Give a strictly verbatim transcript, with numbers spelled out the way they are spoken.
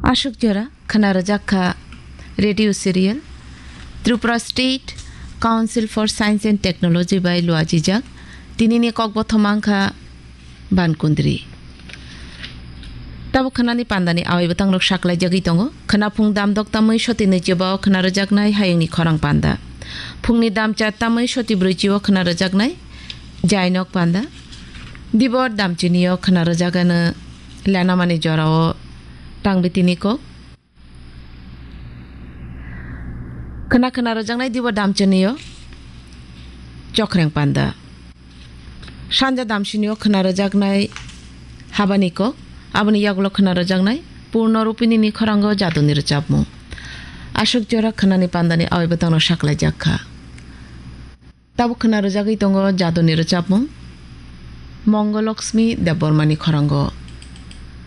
Aswk jora khwna rwjak kha radio serial Tripura State Council for Science and Technology bai luajijak. Tinini kokbothoma wngkha Bankundri. Tabuk khwnani pandani awai bwtangrok saklaijagwi tongo. Khwnaphung damdok tamwi soti nwichiba o khwna rwjaknai hayungni khorang panda. Phungni damcha tamwi soti brwichi o khwna rwjaknai jainok panda. Dibor damchini o khwna rwjagano lenamani jorao tangbitini kok. Khwna khwna rwjaknai dibo damchini o chokreng panda. Sanja damchini o khwna rwjaknai habani kok, aboni yagulo khwna rwjaknai Purno Rupinini khorango jaduni rwchapmung. Aswk jora khwnani pandani awai bwtangno saklaijak kha. Tabuk khwna rwjagwi tongo jaduni rwchapmung Mongolokshmi Debbarmani khorango.